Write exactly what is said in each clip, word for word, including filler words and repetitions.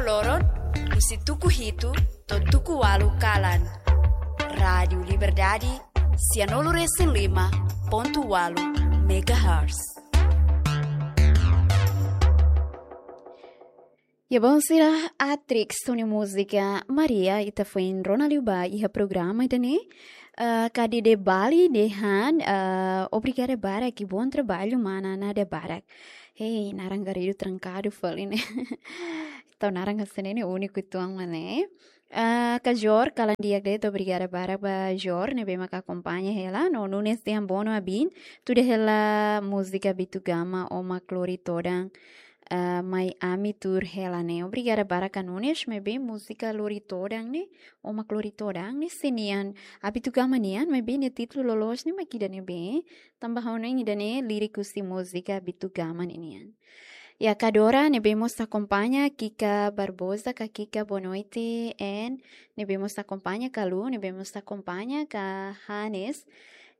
loron, husi tuku hitu to'o tuku ualu kalan. Rádiu Liberdade, sianulu resin lima pontu ualu megahertz. Ya, bom, sira, Atrix ho nia múzika Maria, ita foin rona liu ba iha programa ida-ne'e. Eh, Kadi de Bali dehan, eh, obrigada barak, bom trabalho, mana Nadia barak. Hei, naran Garrido trankadu fali ne'e. Tau naran hanesan ne'e úniku uitoan mak ne'e. Ah, ka Jor, kalan di'ak de'it, obrigada barak ba Jor, ne'ebé maka akompaña hela, no Nunes dehan boa no abin, tuda hela múzika Bitu Gama, Ó Mak Lori Todan, ah, mai ami tuur hela ne'e. Obrigada barak ka Nunes, maibé múzika Lori Todan ne'e, Ó Mak Lori Todan ne'e, se nian, ah, Bitu Gama nian, maibé nia títulu loloos ne'e mak ida-ne'ebé, tanba ha'u hanoin ida-ne'e líriku husi múzika Bitu Gama ne'e nian. Ya, ka Dora, ne'ebé mós akompaña, Kika Barbosa, ka Kika, boa noite, en, ne'ebé mós akompaña, ka Lu, ne'ebé mós akompaña, ka Hanes,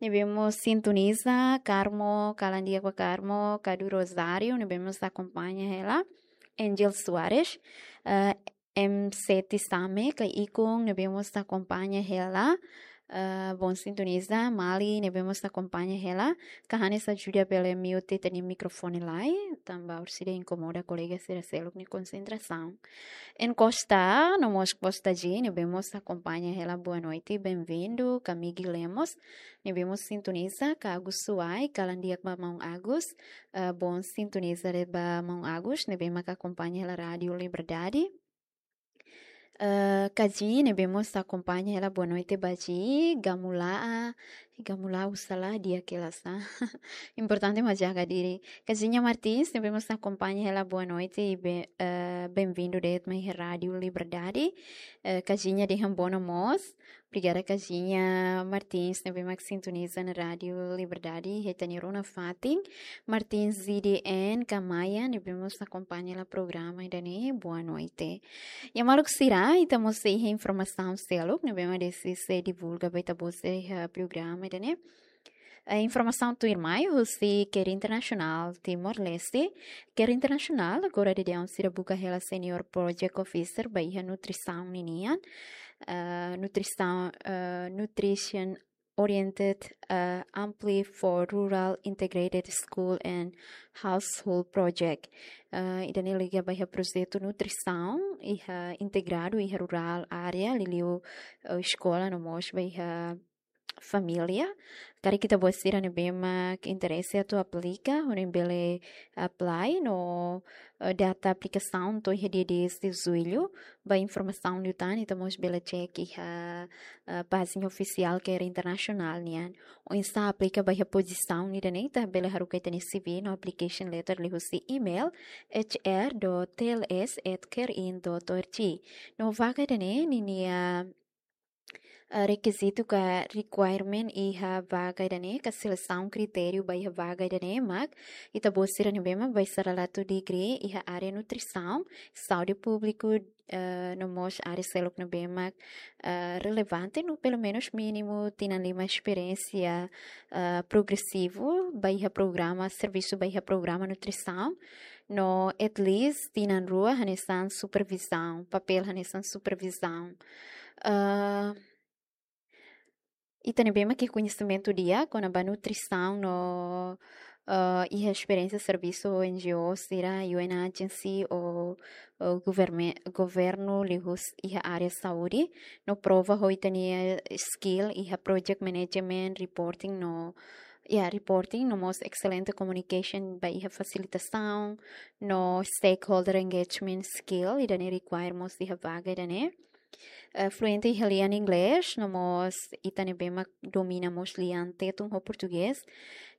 ne'ebé mós sintoniza, Carmo, kalan di'ak ba Carmo, ka Du Rosário, ne'ebé mós akompaña hela, Angel Soares, eh, M sete Same, ka Ikung, ne'ebé mós akompaña hela, eh, bom sintoniza, Mali, ne'ebé mós akompaña hela, ka Hanes ajuda bele mute ita-nia mikrofone lai, tanba orsida inkomoda kolega sira seluk nia konsentrasaun. En Costa, no mós Costa G, ne'ebé mós akompaña hela, boa noite, bem-vindo, ka Migi Lemos, ne'ebé mós sintoniza, ka Agus Suai, kalan di'ak ba maun Agus, eh, bom sintoniza de'it ba maun Agus, ne'ebé maka akompaña hela Rádiu Liberdade. Eh, ka Ji, ne'ebé mós akompaña hela, boa noite ba Ji, Gamula, Gamula usalah dia kelas, ah. Importante mak jaga diri. Ka Jinha Martins, ne'ebé mós akompaña hela, boa noite, i be-, eh, bem-vindo de'it mai Rádiu Liberdade. Eh, ka Jinha dehan boa no mós. Obrigada ka Jinha Martins, ne'ebé mak sintoniza ona Rádiu Liberdade, iha ita-nia rona fatin. Martins Z D N, ka Maia, ne'ebé mós akompaña hela programa ida-ne'e, boa noite. Ya maluk sira, ita mós sei iha informasaun seluk, ne'ebé mak deside sei divulga ba ita-boot iha programa ida-ne'e. Eh, informasaun tuirmai, husi CARE Internasionál Timor-Leste. CARE Internasionál, agora daudaun sira buka hela Senior Project Officer ba iha nutrisaun ninian. Eh, nutrisaun, eh, Nutrition Oriented, eh, Ampli for Rural Integrated School and Household Project. Eh, ida-ne'e liga ba iha projetu nutrisaun, iha integradu, iha rurál área, liuliu, eh, eskola no mós ba iha família. Karik ita-boot sira ne'ebé mak interese atu aplika, hodi bele apply no, eh, data aplikasaun to'o iha dia dez de julho. Ba informasaun liután, ita mós bele cek iha, eh, pájina ofisiál CARE Internasionál nian. Oinsá aplika ba iha pozisaun ida-ne'e, ita bele haruka ita-nia C V no application letter liuhusi email H R dot T L S at care in dot O R G. No vaga ida-ne'e, ninia, eh, rekizitu ka requirement iha vaga ida-ne'e, ka selesaun kritériu ba iha vaga ida-ne'e mak ita-boot sira ne'ebé mak bailaratu degree iha área nutrisaun, saúde públiku, eh, no mós área seluk ne'ebé mak, eh, relevante no pelumenus mínimu tinan lima esperiénsia, eh, progresivu ba iha programa, servisu ba iha programa nutrisaun, no at least tinan rua hanesan supervizaun, papél hanesan supervizaun. Eh, ita ne'ebé mak iha koñesimentu di'ak kona-ba nutrisaun no, eh, iha esperiénsia servisu ho N G O sira, U N agency ou, ou governme-, governu liuhusi iha área saúde, no prova ho ita-nia skill iha project management, reporting no, ya, reporting no mós excelente communication ba iha fasilitasaun, no stakeholder engagement skill, ida-ne'e require mós iha vaga ida-ne'e. Eh, fluente iha lian inglés, no mós ita ne'ebé mak domina mós lian Tetun ho Portugés,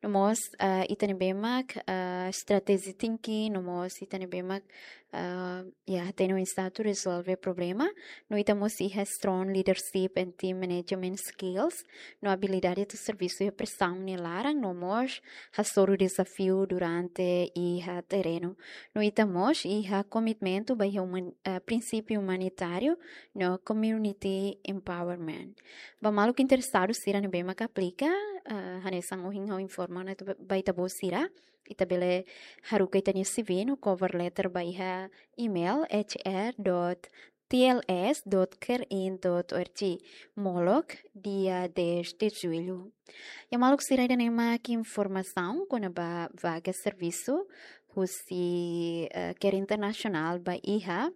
no mós, eh, ita ne'ebé mak, eh, strategy thinking, no mós ita ne'ebé mak, eh, ya, hatene oinsá atu rezolve problema, no ita mós iha strong leadership and team management skills, no abilidade atu servisu iha presaun nia laran, no mós hasoru dezafiu durante iha terrenu. No ita mós iha komitmentu ba iha uman-, eh, prinsípiu umanitáriu no community empowerment. Ba maluk interesadu sira ne'ebé mak aplika, Ah, hanesan ohin ha'u informa ona ita ba ita-boot sira, ita bele haruka ita-nia C V no cover letter ba iha email H R dot T L S dot care in dot O R G, molok dia dez de julho. Iha maluk sira, ida-ne'e mak informasaun kona-ba vaga servisu husi, eh, Care International ba iha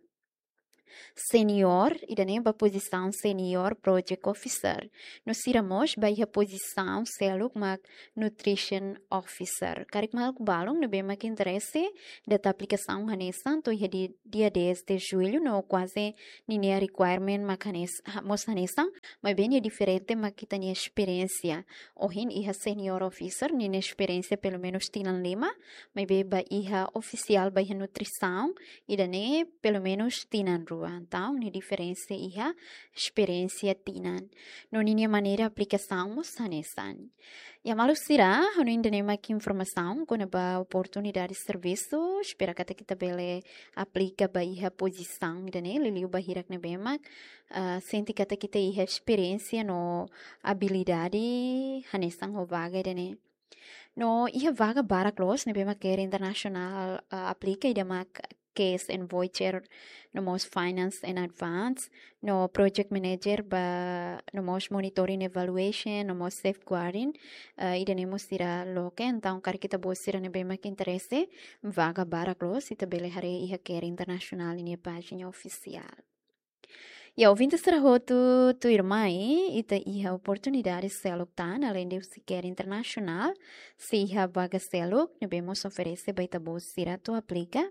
senior, ida-ne'e ba pozisaun senior project officer. No sira mós ba iha pozisaun seluk mak nutrition officer. Karik maluk balun ne'ebé mak interese, data aplikasaun hanesan to'o iha di-, dia dez de julho, no kuaze ninia requirement mak hanes-, ha-, mós hanesan, maibé nia diferente mak ita-nia esperiénsia. Ohin iha senior officer, ninia esperiénsia pelumenus tinan lima, maibé ba iha ofisiál ba iha nutrisaun, ida-ne'e pelumenus tinan rua. Entaun, nia diferensa iha esperiénsia tinan. No ninia maneira aplikasaun mós hanesan. Iha maluk sira, ha'u-nia ida-ne'e mak informasaun kona-ba oportunidade servisu, espera katak ita bele aplika ba iha pozisaun ida-ne'e, liuliu ba hirak ne'ebé mak, ah, sente katak ita iha esperiénsia no abilidade hanesan ho vaga ida-ne'e. No iha vaga barak loos ne'ebé mak Care International, ah, aplika, ida mak cash and voucher, no mós finance and advance, no project manager ba, no mós monitoring evaluation, no mós safeguarding, ah, ida-ne'e mós sira loke. Entaun, karik ita-boot sira ne'ebé mak interese, vaga barak loos, ita bele haree iha Care International ninia pájina ofisiál. Iha ouvinte sira hotu, tuirmai, ita iha oportunidade seluk tan, além de husi Care International, sei iha vaga seluk ne'ebé mós oferese ba ita-boot sira atu aplika.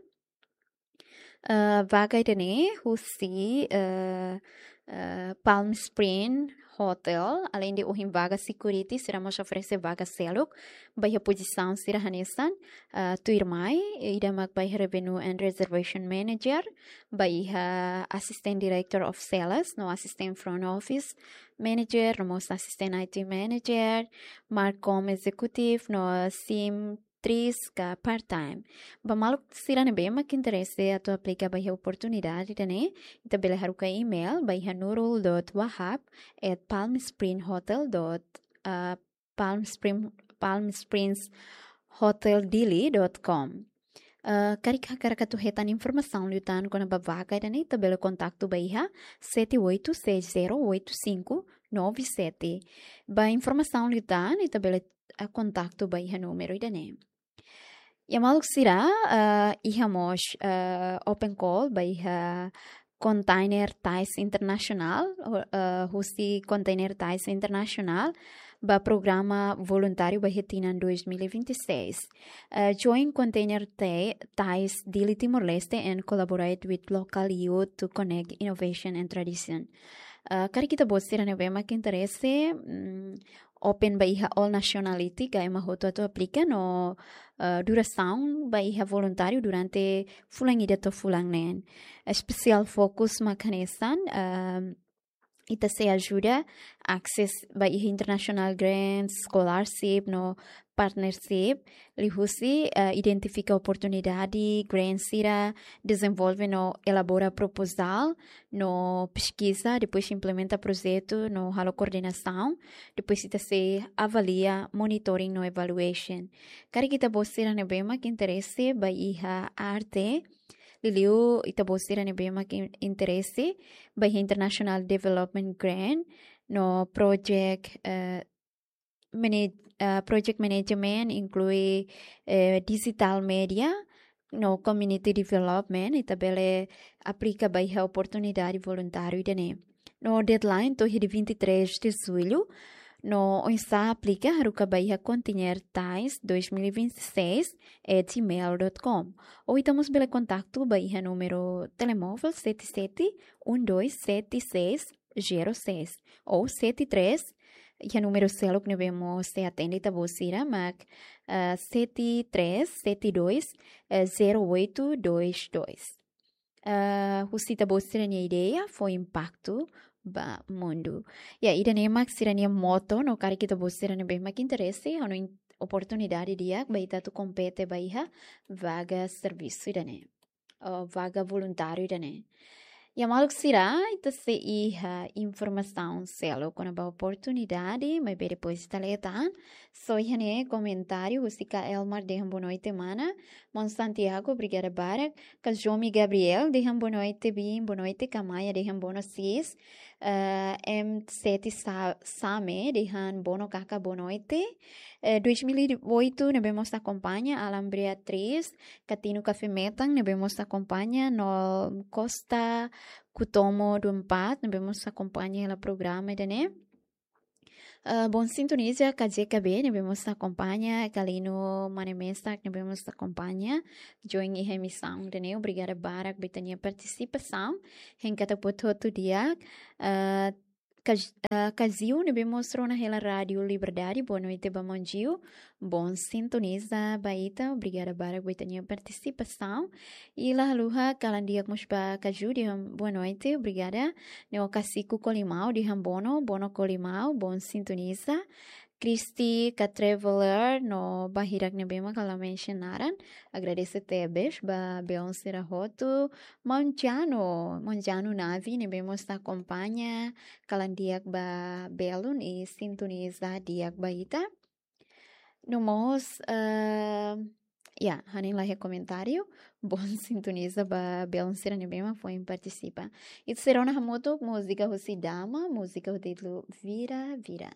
Eh, vaga ida-ne'e husi, eh, eh, Palm Spring Hotel, além de ohin vaga security, sira mós oferese vaga seluk ba iha pozisaun sira hanesan, eh, tuirmai, ida mak ba iha Revenue and Reservation Manager, ba iha Assistant Director of Sales, no Assistant Front Office Manager, no mós Assistant I T Manager, Marcom Executive, no Sim tris ka part-time. Ba maluk sira ne'ebé mak interese atu aplika ba iha oportunidade ida-ne'e, ita bele haruka email ba iha nurul dot wahab at palmspringhotel dot, ah, Palm Spring, Palm Springs Hotel Dili dot com. Ah, karik hakarak atu hetan informasaun liután kona-ba vaga ida-ne'e, ita bele kontaktu ba iha sete oito seis zero oito cinco nove sete. Ba informasaun liután, ita bele, ah, kontaktu ba iha númeru ida-ne'e. Iha maluk sira, ah, iha mós, ah, open call ba iha Container Ties International, ho-, eh, husi Container Ties International, ba programa voluntáriu ba iha tinan dois mil e vinte e seis. Eh, join Container Ti-, Ties Dili Timor-Leste and collaborate with local youth to connect innovation and tradition. Eh, karik ita-boot sira ne'ebé mak interese, mm, open ba iha all nationality, ka ema hotu atu aplika no, eh, durasaun ba iha voluntáriu durante fulan ida to'o fulan neen. Espesiál fokus mak hanesan, ehm, ita sei ajuda access ba iha international grants, scholarship no partnership, liuhusi, eh, identifika oportunidade, grant sira, dezenvolve no elabora proposal, no peskiza, depois implementa projetu, no halo koordenasaun, depois ita sei avalia, monitoring no evaluation. Karik ita-boot sira ne'ebé mak interese ba iha arte, liuliu ita-boot sira ne'ebé mak in-, interese ba iha International Development Grant, no project, eh, mana-, ah, project management inklui, eh, digital media no community development, ita bele aplika ba iha oportunidade voluntáriu ida-ne'e. No deadline to'o iha dia vinte e três de julho, no oinsá aplika haruka ba iha container ties dois mil e vinte e seis at gmail dot com. Ou ita mós bele kontaktu ba iha númeru telemóvel sete sete um dois sete seis zero seis ou sete três, iha númeru seluk ne'ebé mós sei atende ita-boot sira mak, ah, sete três sete dois, eh, zero oito dois dois. Ah, husi ita-boot sira-nia ideia fó impaktu ba mundu. Ya, ida-ne'e mak sira-nia moto, no karik ita-boot sira ne'ebé mak interese, halo in-, oportunidade di'ak ba ita atu kompete ba iha vaga servisu ida-ne'e. Oh, vaga voluntáriu ida-ne'e. Ya maluk sira, ita sei iha informasaun seluk kona-ba oportunidade, maibé depois ita lee tan. Só iha ne'e komentáriu husi Ka Elmar dehan boa noite mana. Mon Santiago, obrigada barak. Ka Jomi Gabriel dehan boa noite biin, boa noite Ka Maia, dehan boa noite sis. Eh, M sete Sa-, Same dehan boa no kaka boa noite. Eh, dois mil e oito ne'ebé mós akompaña, Alan Beatriz, Katinu Café Metan ne'ebé mós akompaña, no Costa Kutomo do Empat ne'ebé mós akompaña hela programa ida-ne'e. Eh, bon sintoniza Ka J K B ne'ebé mós akompaña, Kalino Mane Mesak ne'ebé mós akompaña, join iha emisaun ida-ne'e, obrigada barak ba ita-nia partisipasaun, hein katak buat hotu di'ak. Eh, Ka-, eh, Kaziu ne'ebé mós rona hela Rádio Liberdade, boa noite ba Mon Jiu. Bon sintoniza ba ita, obrigada barak ba ita-nia partisipasaun. I la haluha kalan di'ak mós ba Kaju dehan boa noite, obrigada. Neo Kasiku Kolimau dehan bono, bono Kolimau, bon sintoniza. Kristi Ka Traveler no ba hirak ne'ebé mak la mensiona naran. Agradese tebes ba belun sira hotu. Maun Janu, Maun Janu Navi ne'ebé mós akompaña, kalan di'ak ba belun i sintoniza di'ak ba ita. No mós, eh, ya, hanesan la iha komentáriu, bon sintoniza ba belun sira ne'ebé mak foin partisipa. Ita sei rona hamutuk múzika husi Dama, múzika ho títulu Vira Vira.